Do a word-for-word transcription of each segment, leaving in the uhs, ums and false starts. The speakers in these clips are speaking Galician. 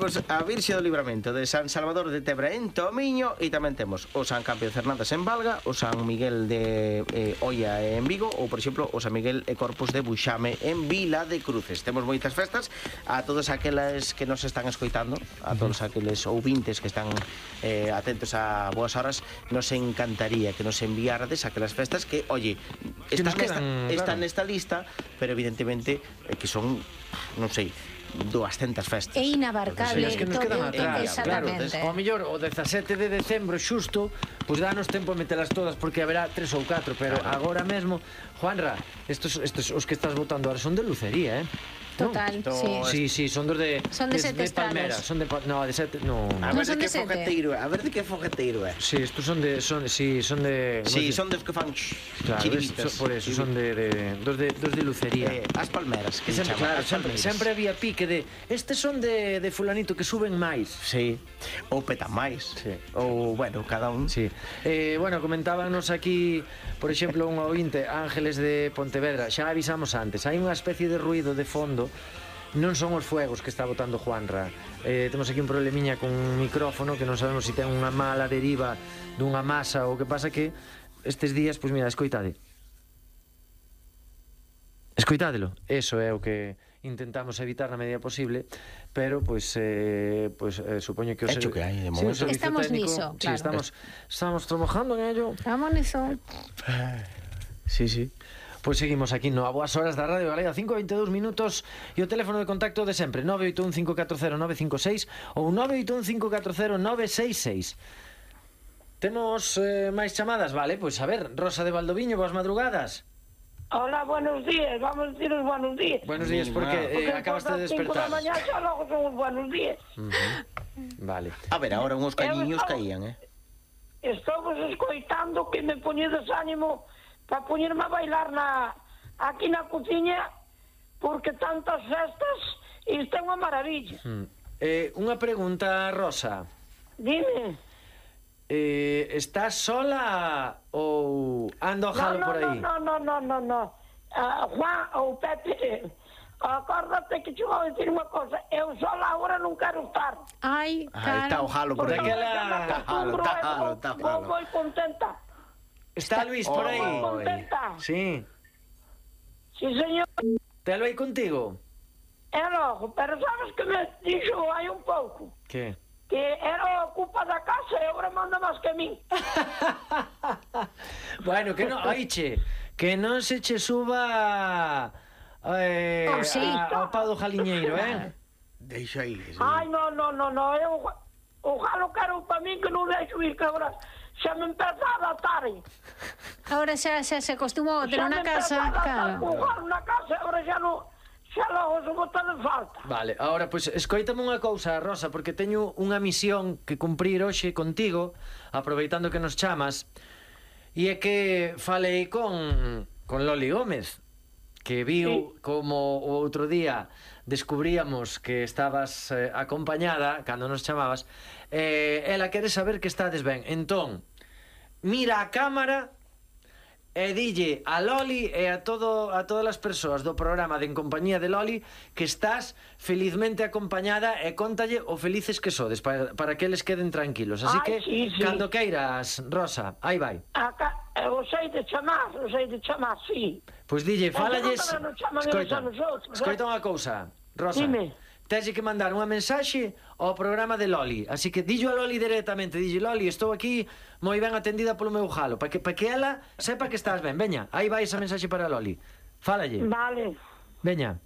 temos a Virxe do Libramento de San Salvador de Tebra en Tomiño, e tamén temos o San Campio de Cernadas en Valga, o San Miguel de eh, Oia en Vigo, ou, por exemplo, o San Miguel e Corpus de Buxame en Vila de Cruces. Temos moitas festas. A todos aqueles que nos están escoitando, a todos aqueles ouvintes que están eh, atentos a boas horas, nos encantaría que nos enviarades aquelas festas que, oye, están, nos quedan, nesta, claro. están nesta lista, pero evidentemente eh, que son, non sei, duascentas festas. É inabarcable. Es que nos quedan atrás, claro. Exactamente. O mellor, o dezasete de decembro xusto, pois danos tempo a metelas todas, porque haberá tres ou catro, pero agora mesmo, Juanra, estos, estos os que estás votando ahora son de lucería, eh? Total, No, sí. Sí, sí, son dos de... Son de sete de Palmera, estados. son de... No, de sete... No, A Non ver son de que de sete. fogueteiro é, a ver de que fogueteiro é. Sí, estos son de... Son, sí, son de... Sí, no sé. son dos que fan Claro, chiribitas. es- por eso, son de, de, dos, de dos de lucería. Eh, as palmeras, que Que sempre, chaman, claro, as sempre, palmeiras. sempre había pique de estes son de, de fulanito que suben máis. Sí, ou petan máis. Sí. Ou, bueno, cada un. Sí. Eh, bueno, comentábanos aquí, por exemplo, un ointe, Ángeles de Pontevedra. Xa avisamos antes, hai unha especie de ruido de fondo. Non son os fuegos que está botando Juanra. Eh, temos aquí un problemiña con un micrófono que non sabemos se ten unha mala deriva dunha masa ou que pasa que estes días, pois mira, escoitade. Escoitádelo. Eso é o que intentamos evitar na medida posible, pero pois eh, pois eh, supoño que o Hecho que hai, de Sí, o momento. servizo Estamos técnico, niso, sí, claro. estamos estamos trabajando en ello. Vamos niso. Sí, sí. Pois seguimos aquí no A Boas Horas da Radio Galega, cinco e veintidous minutos, e o teléfono de contacto de sempre, nove oito un cinco catro cero nove cinco seis ou nove oito un cinco catro cero nove seis seis. Temos eh, máis chamadas, vale? Pois a ver, Rosa de Valdoviño, boas madrugadas. Hola, buenos días, vamos a deciros buenos días. Buenos días, Sí, porque ma. eh, acabaste de cinco da despertar. mañá xa logo son os buenos días. Vale. A ver, agora uns cañiños Eu- caían, eh? Estou vos escoitando que me poñedes ánimo para poñerme a bailar na aquí na cociña, porque tantas festas isto é unha maravilla. Mm. Eh, unha pregunta, Rosa. Dime. Eh, estás sola ou ando No, jalo no, por aí? no, no, no, no, no. Uh, Juan ou Pepe, acórdate que te vou dicir unha cosa, eu sola agora non quero estar. Ai, Aí está o claro. jalo por Porque aí. Daquela- eu me acostumbro, Tá eu jalo, vou- tá vou jalo. moi contenta. Está Luis por aí? Moi contenta. Sí. Sí, señor. Telo aí contigo? É logo, pero sabes que me dixo hai un pouco Que? que era a culpa da casa e agora manda máis que a min. Bueno, que non, oiche, que non se che suba eh, Oh, sí. a, ao pau do jaliñeiro, eh? Deixa aí. Sí. Ai, no, no, no, no, eu o jalo quero para min que non deixo ir, que agora xa me empeza a adaptar. Ahora xa, xa se acostumou a ter Xa unha me empeza casa, a adaptar claro. co jalo na casa, agora xa non, xa logo se bota de falta. Vale, ahora, pois, pues, escoítame unha cousa, Rosa, porque teño unha misión que cumprir hoxe contigo, aproveitando que nos chamas, e é que falei con, con Loli Gómez, que viu Sí. como o outro día descubríamos que estabas eh, acompañada, cando nos chamabas, eh, ela quere saber que estades ben. Entón, mira a cámara e dille a Loli e a todo a todas as persoas do programa de En Compañía de Loli que estás felizmente acompañada e contalle o felices que sodes para, para que eles queden tranquilos. Así Ai, que, sí, sí. cando queiras, Rosa, aí vai. Acá, eu sei de chamar, eu sei de chamar, sí. Pois dille, Mas fálalles... eu non chaman eles Escoita, a nosotros, escoita eh? unha cousa, Rosa. Dime. Tens que mandar unha mensaxe ao programa de Loli. Así que dillo a Loli directamente. Dille, Loli, estou aquí moi ben atendida polo meu jalo. Para que, pa que ela sepa que estás ben. Veña, aí vai esa mensaxe para Loli. Fálalle. Vale. Veña.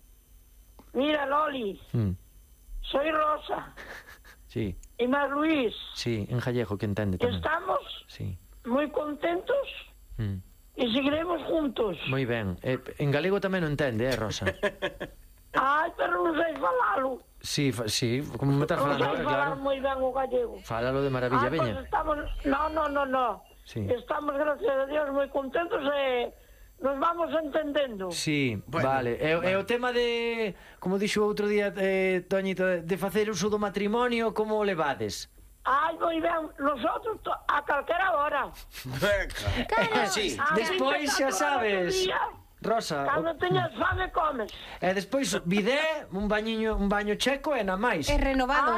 Mira, Loli, Mm. soy Rosa Sí, e máis Luis. sí, en gallego que entende tamén. Estamos Sí. moi contentos Mm. e seguiremos juntos. Moi ben. Eh, en galego tamén o entende, eh, Rosa? Ai, pero non sei falalo. Sí, fa, sí, como me estás Non falando sei ahora, falar claro. moi ben o gallego. Fálalo de maravilla, Ah, pues veña. estamos... No, no, no, no. Sí. Estamos, gracias a Dios, moi contentos e nos vamos entendendo. Sí, Bueno, vale. E, e o tema de, como dixo outro día eh, Toñito, de facer uso do matrimonio, como o levades? Ai, moi ben, nosotros to- a calquera hora. Veca. Sí. A Despois xa veinticuatro horas sabes, do día, Rosa, cando o- teñas fame, comes. e despois bidé, un bañiño, un baño checo e na máis. É renovado. Ai,